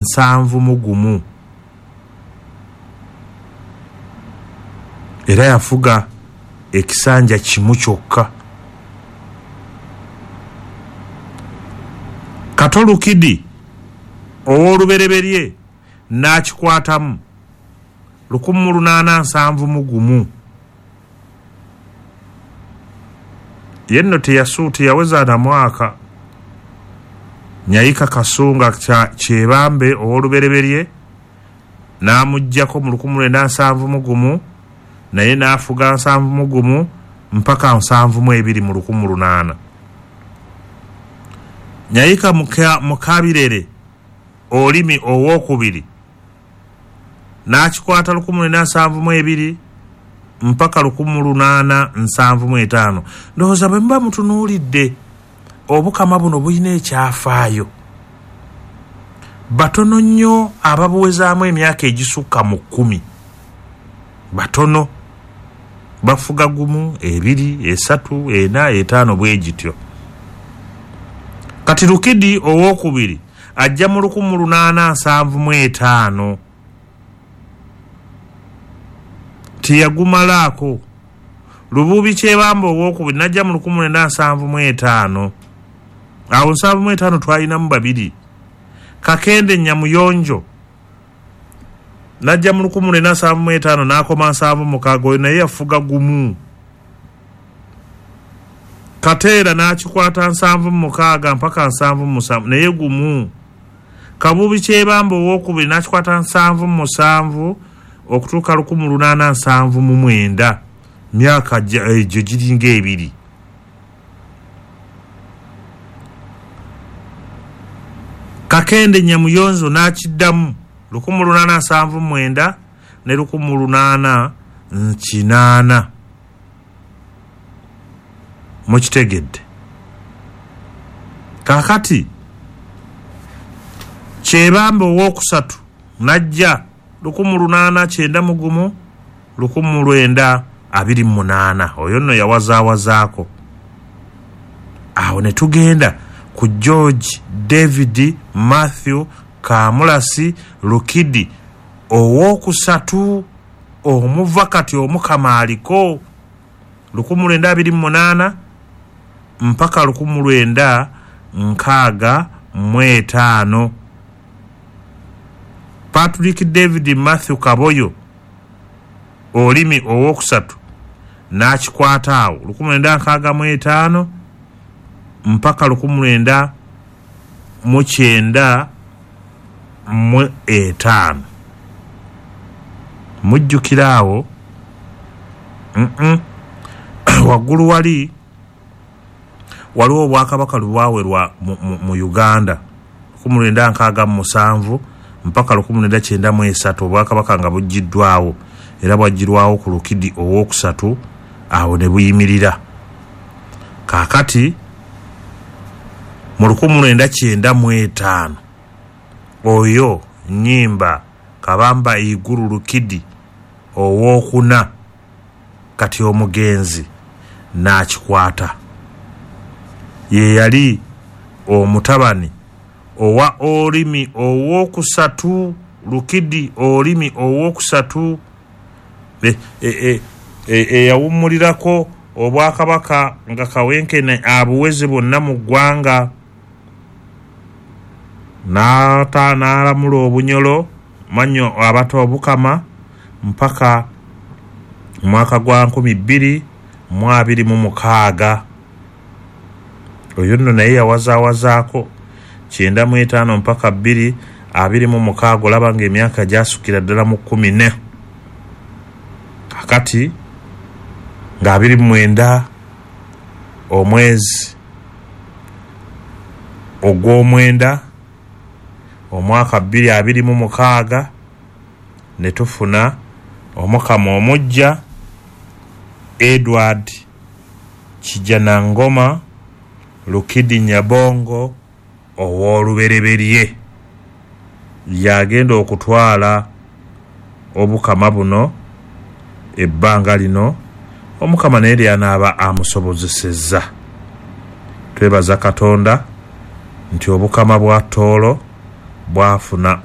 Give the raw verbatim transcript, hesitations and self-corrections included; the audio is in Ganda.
Nsanvu mu gumu. Era yafuga ekisanja kimu kyokka. Kato Lukidi ow'olubereberye n'akikwatamu lukumi mu lunaana nsanvu mu gumu. Ye nno teyasu teyaweza na mwaka. Nyayika Kasunga Kyebambe ow'olubereberye n'amuggyako mu lukumi lwenda nsanvu mu gumu, naye n'afuga nsanvu mu gumu mpaka nsanvu mu ebiri mu lukumi lunaana. Nyayika Mukabirere Olimi ow'okubiri n'akikwata lukumi lwenda nsanvu mu ebiri mpaka lukumi lunaana nsanvu mu etaano. Ndowooza bwe muba mutunuulidde obukama buno bulina ekyafaayo. Batono nnyo ababuwezaamu emyaka egisukka mu kkumi. Batono. Bafuga gumu, ebiri, esatu, ena, etaano bwe gityo. Kati Lukidi ow'okubiri ajja mu lukumi lunaana nsanvu mu etaano. Teyagumalaako. Lububi Kyebambe ow'okubiri n'ajja mu lukumi lwenda nsanvu mu etaano. Awo nsanvu mu etaano twalinamu babiri. Kakende Nyamuyonjo n'ajja mu lukumi lwenda nsanvu mu etaano n'akoma nsanvu mukaaga, oyo naye yafuga gumu. Kateera n'akikwata nsanvu mukaaga mpaka nsanvu musanvu, naye gumu. Kabubi Kyebambe ow'okubiri n'akikwata nsanvu musanvu okutuuka lukumi lunaana nsanvu mu mwenda, myaka egyo giringa ebiri. Kakende Nyamuyonzo n'akiddamu lukumi lunaana nsanvu mwenda ne lukumi lunaana kinaana. Mukitegedde? Kaakati Kyebambe ow'okusatu n'ajja lukumi lunaana kyenda mu gumu lukumi lwenda abiri mu munaana. Oyo nno yawazaawazaako. Awo ne tugenda ku George David Matthew Kamulasi Lukidi ow'okusatu omuva kati Omukama aliko lukumi lwenda abiri mu munaana mpaka lukumi lwenda nkaaga mu etaano. Patrick David Matthew Kaboyo Olimi ow'okusatu n'akikwata awo lukumi lwenda nkaaga mu etaano mpaka lukumi lwenda mu kyenda mu etaano. Mujjukira awo waggulu wali waliwo obwakabaka lubwawerwa mu, mu, mu Uganda lukumi lwenda nkaaga mu musanvu mpaka lukumi lwenda kyenda mu esatu, obwakabaka nga buggiddwawo era bwaggyirwawo ku Lukidi ow'okusatu, awo ne buyimirira. Kaakati mu lukumi lwenda kyenda mu etaano oyo Nnyimba Kabamba Iguru Lukidi ow'okuna kati omugenzi n'akikwata. Ye yali omutabani owa Olimi ow'okusatu, Lukidi Olimi ow'okusatu eyawummulirako obwakabaka nga Kawenkene abuweze bwonna mu ggwanga, n'ata n'alamula Obunyolo manyo abato obukama mpaka mwaka gwa nkumi bbiri mu abiri mu mukaaga. Oyo nno naye yawazaawazaako kyenda mu etaano mpaka bbiri abiri mu mukaaga, olaba ng'emyaka gyasukira ddala mu kkumi ne. Kakati nga abiri mu mwenda omwezi ogw'omwenda omwaka bbiri abiri mu mukaaga ne tufuna Omukama omuggya Edward Kijanangoma Lukidi Nyabongo ow'olubereberye yagenda okutwala obukama buno ebbanga lino. Omukama naye lyanaaba amusobozesezza. Twebaza Katonda nti obukama bwa Tooro Bwafuna